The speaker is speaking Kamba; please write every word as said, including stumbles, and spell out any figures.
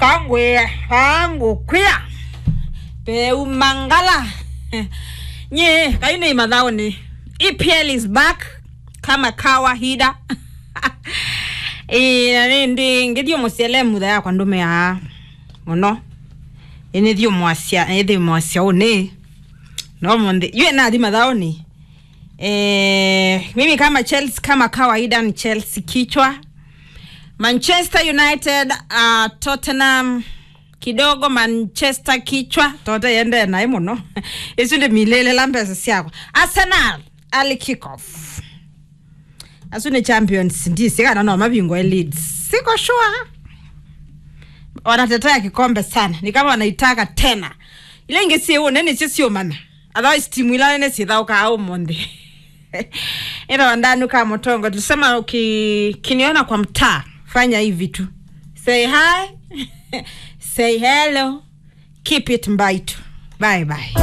Angwĩa, angũkwĩa. Peu mangala. Nye, kai nĩ mathaoni. E P L is back kama kawaida. Eh, na nĩ ndĩ ngĩthiĩ mũsiele mutha yakwa ndũmĩaa mũno. Ĩnĩthiĩ mwasya, ĩthĩ mwasya ũnĩ. No mũndĩ. Yue nathi mathaoni. Eh, mimi kama Chelsea, kama kawaida ni Chelsea kichwa. Manchester United, uh, Tottenham kidogo, Manchester kichwa. Tote yende naĩ mũno. Isu nĩ milele la mbesa syakwa. Arsenal, early kick off. Asu nĩ champions, ndisi kana no mabingwa Leeds. Siko sure. Wanatetea kikombe sana. Ni kama wanaitaka tena. Ile ingĩ siĩ ũnene sio siomana. Otherwise, timu ila nene syĩthaũkaa ũmũnthĩ. Ĩla wandanuka mũtongo, tulisema ukiniona kwa mtaa, fanya hivi tu. Say hi. Say hello. Keep it mbaitu. Bye bye.